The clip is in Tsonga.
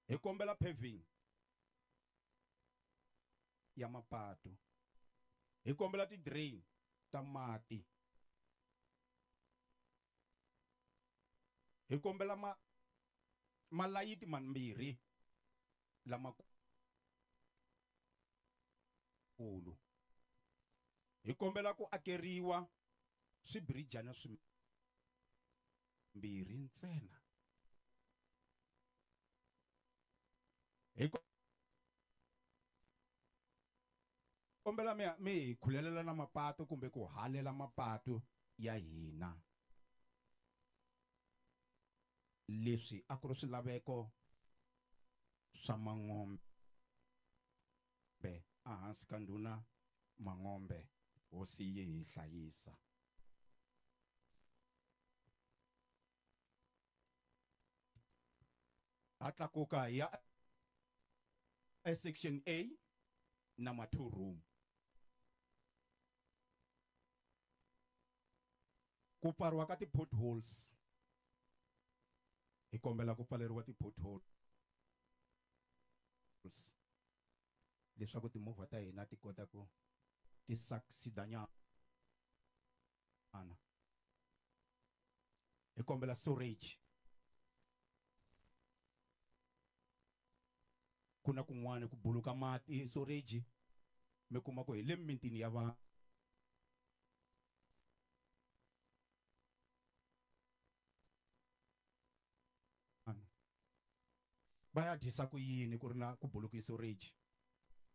Hi kombela paving ya mapatu. Hi kombela ti-drain ta mati. Hi kombela ma malayiti mambirhi lamakulu. Hi kombela ku akeriwa swibirijana swimbirhi ntsena. Hi kombela mi mi hi khulelela na mapatu kumbe ku halela mapatu ya hina. Leswi a ku ri swilaveko swa Mangombe ehansi ka ndhuna Mangombe, hosi yi hi hlayisa. Ha tlakuka hi ya esection A number 2 room. Ku pfariwa ka ti-potholes. Hi kombela ku pfaleriwa ti-potholes leswaku timovha ta hina ti kota ku ti succeed nyana. Hi kombela storage. Ku na kun'wana ku buluka mati storage mi kuma ku hi le mimitini ya vanhu. Va ya dyisa ku yini ku ri na ku buluka storage?